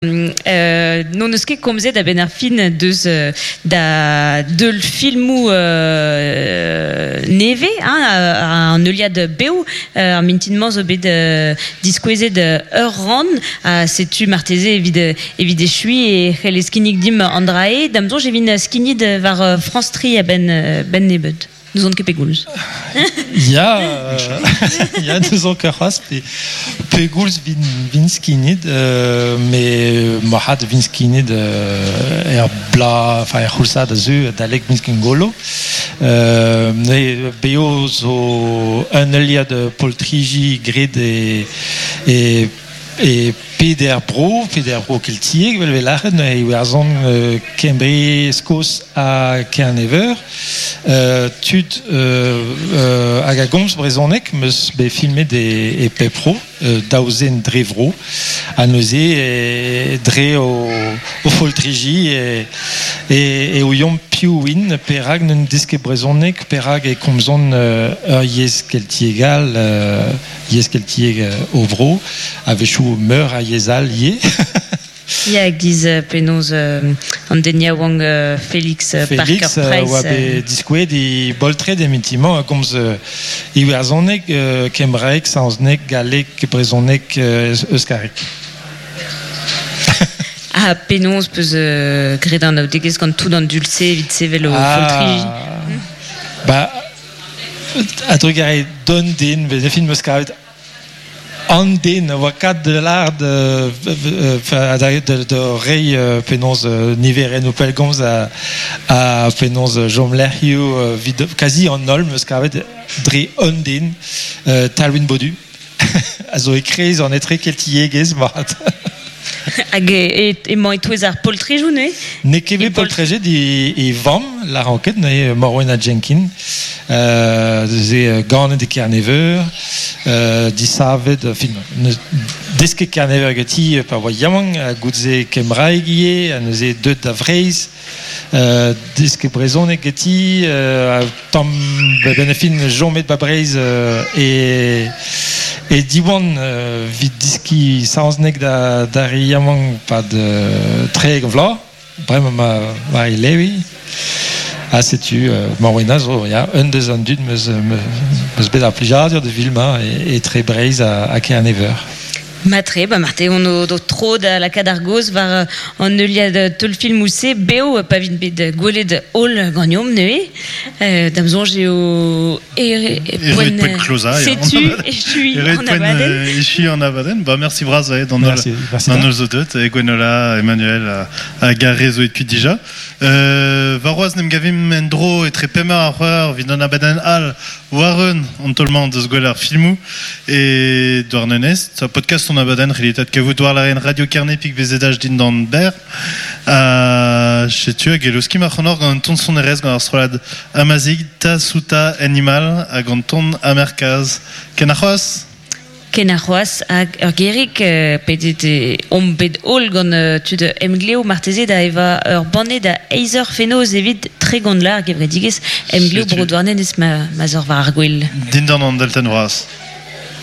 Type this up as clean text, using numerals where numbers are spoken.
N'hon eus ket komzet a-benn ar fin deus da deul filmoù nevez, hein, an heuliad bev. Ar mintin-mañ zo bet diskouezet ur rann, ha setu marteze evit evit echuiñ e c'hellez kinnig dimp an dra-se. Da'm soñj e vin skignet war France 3 a-benn benn nebeut. N'ouzon ket pegoulz. Ya, ya, n'ouzon ket c'hoazh pe pegoulz vin, vin skignet, euh, mais marc'had vin skignet euh, er bla, enfin er c'houlzad a zeu adalek miz Gwengolo. Euh, ne beo zo un heuliad poltriji graet e, e E peder bro, peder bro keltiek, vel vel lâret, neuze Iwerzhon, Kembre, Skos ha Kerne-Veur. Tud hag a gomz brezhoneg 'm eus bet filmet e pep bro, daou zen dre vro. Ha neuze dre o foltriji e ouiomp piv int, perak n'en deus ket brezhoneg, perak e komzont ur yezh keltiek all. Yezh keltiek o vro, a-wechoù meur a yezh all ivez. Ya, giz penaos an den yaouank Felix Felix Parker oa Price. bet diskouezet e boltred emitimmañ a gomz iwerzhoneg, kembraeg, saozneg, galleg, brezhoneg, euskareg. Ha penaos peus graet an anaoudegezh gant tout an dud-se evit sevel o foltriji? Ba, A-drugarez d'un den, vez e fin 'meus kavet an den a oa kat da lâret da reiñ penaos niverennoù pellgomz ha penaos chomlec'hioù evit kazi an holl 'meus kavet dre un den, Talwin Bodu, a zo e-kreiz an etrekeltiegezh mat. Hag emañ e-touez ar poltrejoù neuze? N'eo ket bet poltrejet e vamm, lâran ket, neuze Morwenna Jenkin, ze ganet e Kerne-Veur, disavet, fin, desket Kerne-Veur ganti pa oa yaouank, ha goude-se kembraeg ivez, ha neuze deuet da Vreizh, desket brezhoneg ganti, tamm benn ar fin chomet ba Breizh e e Diwan evit deskiñ saozneg da d'ar re yaouank 'pad 30 vloaz bremañ ma ma e levi ha setu Morwena zo ya un deus an dud 'meus 'meus bet ar plijadur da filmañ etre Breizh ha Kerne-Veur. Matre, ba marte on o do tro da lakaat ar gaoz war an heuliad teulfilmoù-se bev pa vint bet gwelet holl ganeomp neuze. Da'm soñj eo poent klozañ. Setu echuiñ an abadenn. Echuiñ an abadenn. Ba merci bras d'an holl zo deuet, Gwenola, Emmanuel hag ar re zo aet kuit dija. Warc'hoazh 'n em gavimp en-dro etre pemp eur ha c'hwec'h evit an abadenn all war-eeun an taol-mañ deus gwell ar filmoù e Douarnenez. Podcast hon abadenn c'hellit adkavout war lârenn Radio Kerne pik BZH dindan berr. Ha setu hag e leuskim ac'hanoc'h gant un ton sonerezh gant ar strollad Amazigh, Tasuta Animal hag an ton Amerkaz. Ken ar c'hoazh! Ken ar c'hoazh hag ur gerig pedet omp bet holl gant tud Emglev marteze da evañ ur banne da eizh eur fenoz evit 30 vloaz ar gevredigezh Emglev Bro Douarnenez ma 'z eur war ar gwel. Dindan an deltenn vras.